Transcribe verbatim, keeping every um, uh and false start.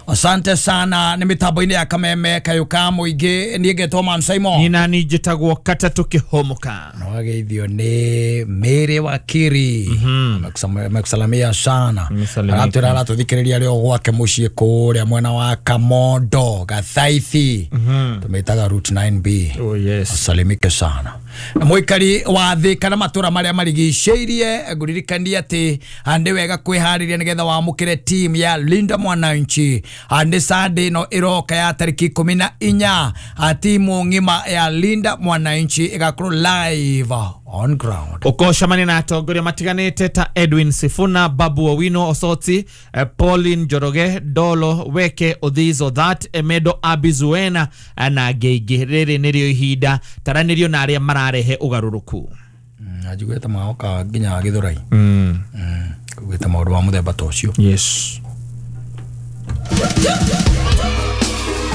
Asante sana. Nĩ mĩtambo-inĩ ya Kameme kayũ ka mũingĩ, niĩ ngetwo Man Simon. Nina ni njĩtagwo Katatũ Kĩhũmũka. Wageithio nĩ Mary Wakiri. Amekusam- amekusalamia sana. Amesalimika. Aratwĩra aratũthikĩrĩria arĩ o gwake mũciĩ kũrĩa mwena wa Kamondo Gathaithi, tũmĩtaga Route nine B. Oh yes. Asalimike sana na mũikari wa thĩ kana matũra marĩa marigicĩirie. Ngũririkania atĩ nĩ wega kwĩharĩria nĩgetha wamũkĩre team ya Linda Mwananchi. Nĩ Sunday ĩno ĩroka ya tarĩki ikũmi na inya, timu ng'ima ya Linda Mwananchi ĩgakorwo live on ground. Ũkocemania na atongoria matiganĩte ta Edwin Sifuna, Babu Owino Osoti, eh, Pauline Njoroge, Dolo Weke, Odhizo That, Emedo Abizuena eh, na angĩ aingĩ. Rĩrĩ nĩrĩo ihinda taranĩrio na arĩa mararehe ũgarũrũku. Njiguĩte magoka nginya Gĩthũrai kuugĩte maũndũ ma mũthemba ta ũcio. Yes.